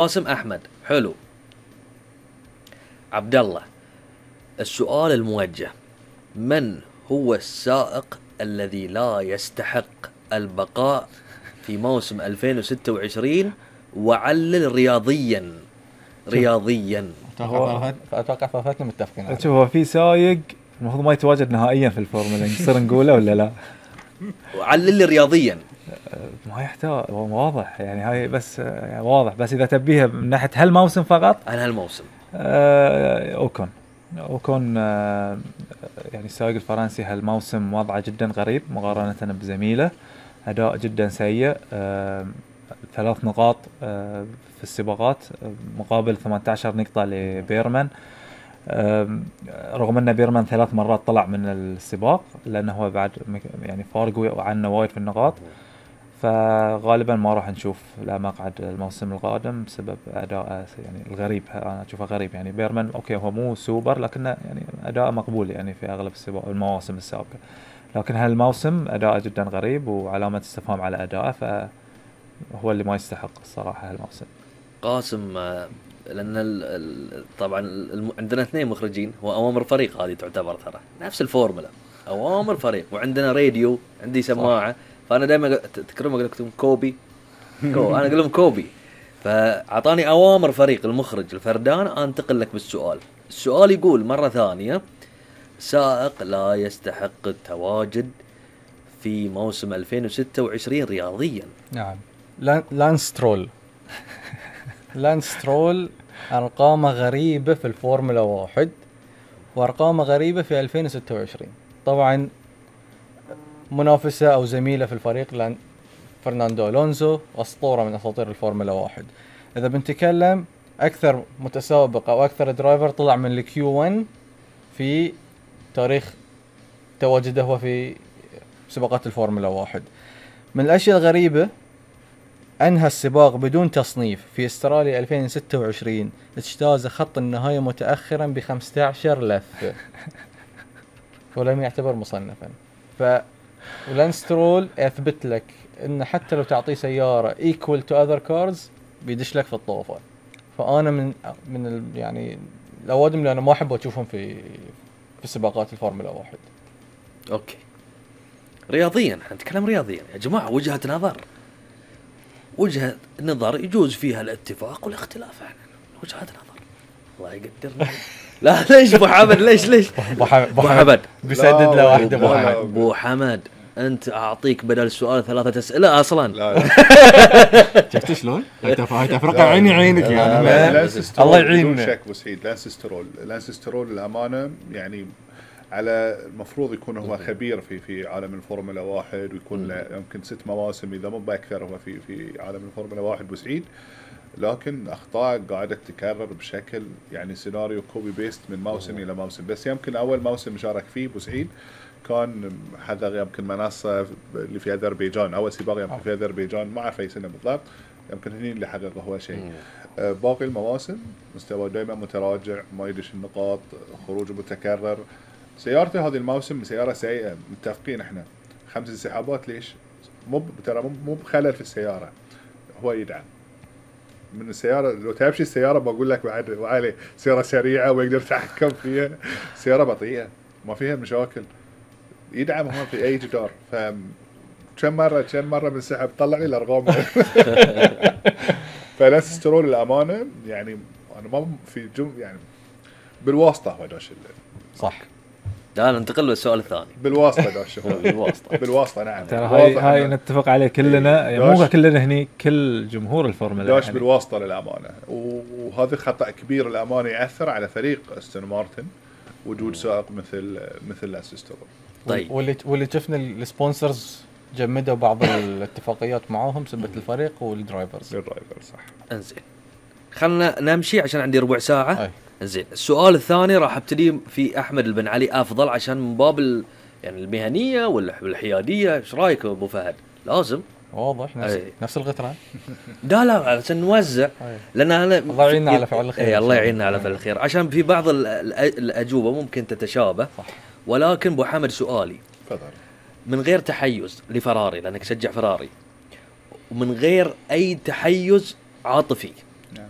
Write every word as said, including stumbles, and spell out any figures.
قاسم أحمد. حلو. عبد الله، السؤال الموجه: من هو السائق الذي لا يستحق البقاء في موسم ألفين وستة وعشرين؟ وعلل رياضيا رياضيا. اتوقع فاتنا متفقين عليه. شوف، هو في سايق المفروض ما يتواجد نهائيا في الفورمولا، نصير نقوله ولا لا؟ وعلل رياضيا. ما يحتاج، هو واضح يعني، هاي بس يعني واضح، بس اذا تبيها من ناحيه هالموسم فقط، انا هالموسم آه اوكون اوكون آه يعني السائق الفرنسي هالموسم وضعه جدا غريب مقارنه بزميله، اداء جدا سيء. آه ثلاث نقاط آه في السباقات مقابل ثمانية عشر نقطه لبيرمان، رغم ان بيرمان ثلاث مرات طلع من السباق لانه هو بعد يعني فارق عنه وايد في النقاط. فغالبا ما راح نشوف لا مقعد الموسم القادم بسبب اداء يعني الغريب. انا اشوفه غريب يعني. بيرمان اوكي هو مو سوبر لكنه يعني اداء مقبول يعني في اغلب السباق المواسم السابقه، لكن هالموسم اداء جدا غريب وعلامه استفهام على اداءه، فهو اللي ما يستحق الصراحه هالموسم. قاسم، لان ال ال طبعا ال عندنا اثنين مخرجين، هو اوامر فريق هذه تعتبر ترى نفس الفورمولا، اوامر فريق، وعندنا راديو، عندي سماعه، فانا دائما تذكرون اقول لكم كوبي كو انا اقول لهم كوبي، فاعطاني اوامر فريق المخرج الفردان. انتقل لك بالسؤال. السؤال يقول مره ثانيه: سائق لا يستحق التواجد في موسم ألفين وستة وعشرين رياضيا. نعم، لانس سترول. لانس سترول أرقامه غريبة في الفورمولا واحد، وأرقامه غريبة في ألفين وستة وعشرين. طبعا منافسة أو زميلة في الفريق لان فرناندو ألونزو، أسطورة من أساطير الفورمولا واحد. إذا بنتكلم أكثر متسابق أو أكثر درايفر طلع من الكيو واحد في تاريخ تواجده هو في سباقات الفورمولا واحد. من الأشياء الغريبة أنهى السباق بدون تصنيف في استراليا ألفين وستة وعشرين، اجتاز خط النهاية متأخرا بخمسة عشر لفة ولم يعتبر مصنفا. ف ولانس سترول يثبت لك إن حتى لو تعطيه سيارة equal to other cars بيدش لك في الطوفة. فأنا من من ال يعني الأوادم اللي أنا ما أحب أشوفهم في في سباقات الفورمولا واحد. أوكي، رياضيا نتكلم رياضيا يا جماعة. وجهة نظر وجهة نظر يجوز فيها الاتفاق والاختلاف. يعني وجهة نظر، الله يقدرنا. لا ليش ابو حمد؟ ليش ليش ابو حمد بيسدد له واحده. ابو حمد ابو حمد انت اعطيك بدل السؤال ثلاثه اسئله اصلا. لا لا شفت شلون هاي تفرقه عيني عينك يعني. الله يعيننا. شك وسعيد لانس سترول لانس سترول الامانه يعني على المفروض يكون هو خبير في في عالم الفورمولا واحد، ويكون له يمكن ست مواسم اذا مو باكثر هو في في عالم الفورمولا واحد بوسعيد، لكن اخطاء قاعده تتكرر بشكل يعني سيناريو كوبي بيست من موسم الى موسم. بس يمكن اول موسم شارك فيه بوسعيد كان حذر يمكن منصه اللي في اذربيجان، اول سباق يمكن في اذربيجان، ما اعرف اي سنه بالضبط، يمكن هني اللي حققه هو شيء. آه باقي المواسم مستوى دائما متراجع، ما يدش النقاط، خروج متكرر. سيارته هذه الموسم سياره سيئه، متفقين احنا. خمس انسحابات ليش؟ مو ترى مو بخلل في السياره، هو يدعم من السياره. لو تمشي السياره بقول لك بعد وعلي سياره سريعه ويقدر يتحكم فيها، سياره بطيئه ما فيها مشاكل، يدعم هون في اي جدار. ف كم مره كم مره بنسحب، طلع لي الارقام. فلانس سترول الامانه يعني انا ما في جم يعني بالواسطه هو داش صح. تعال ننتقل للسؤال الثاني. بالواسطة داش بالواسطة بالواسطة نعم. ترى هاي هاي نتفق عليه كلنا، يعني مو كلنا هني، كل جمهور الفورمولا داش يعني. بالواسطة للأمانة، وهذا خطأ كبير الأمانة يأثر على فريق أستون مارتن وجود سائق مثل مثل لانس سترول. طيب واللي واللي شفنا السبونسرز جمدوا بعض الاتفاقيات معاهم سبت الفريق والدرايفرز. الدرايفر صح. انزين خلنا نمشي عشان عندي ربع ساعة. زين، السؤال الثاني راح ابتدي في احمد البن علي افضل، عشان من باب يعني المهنيه والحياديه. ايش رايك ابو فهد؟ لازم واضح نفس أي. نفس الغترة. لا لا عشان نوزع، لان انا الله يعيننا على فعل الخير. اي الله يعيننا على فعل الخير، عشان في بعض الاجوبه ممكن تتشابه صح. ولكن ابو حمد سؤالي تفضل من غير تحيز لفراري لانك تشجع فراري، ومن غير اي تحيز عاطفي، نعم.